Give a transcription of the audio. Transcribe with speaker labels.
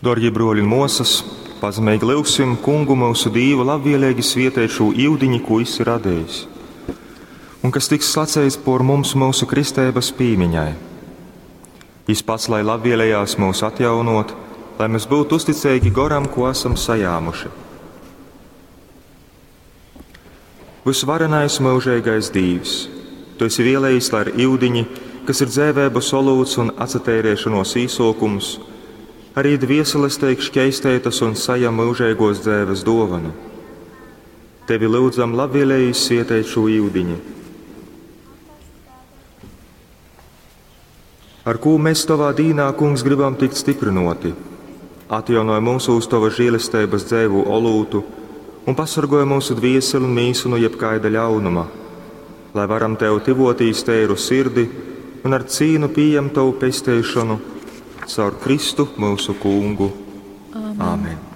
Speaker 1: Dārgie bruoļi un muosys, pazemeigi lyugsim Kungu myusu Dīvu labvieleigi svieteit šū iudiņi, kū Jis ir radejis, un kas tiks slaceits por mums myusu kristeibys pīmiņai. Jis pats lai labvielejās mūs atjaunot, lai mēs būtu uzticeigi goram, ko esam sajāmuši. Vysvarenais myužeigais Dīvs, Tu esi vielējis, lai ar iudiņi, kas ir dzēvēbas olūts un atsateirēšanos īsōkums, arī dvieseles teik šķeisteitas un sajam myužeigos dzēves dōvanu. Tevi lyudzam labvēlīgi svieteit šū iudiņi. Ar kū mēs Tavā dīnā, Kungs, gribam tikt stiprinoti? Atjaunoj mūsūs Tava žēlesteibas dzēvu olūtu un pasargoj mūsu dvieseli un mīsu no jebkaida ļaunuma, lai varam Tev tivotīs teiru sirdi un ar cīnu pieņemt Tavu pesteišanu caur Kristu mūsu Kungu. Amen. Amen.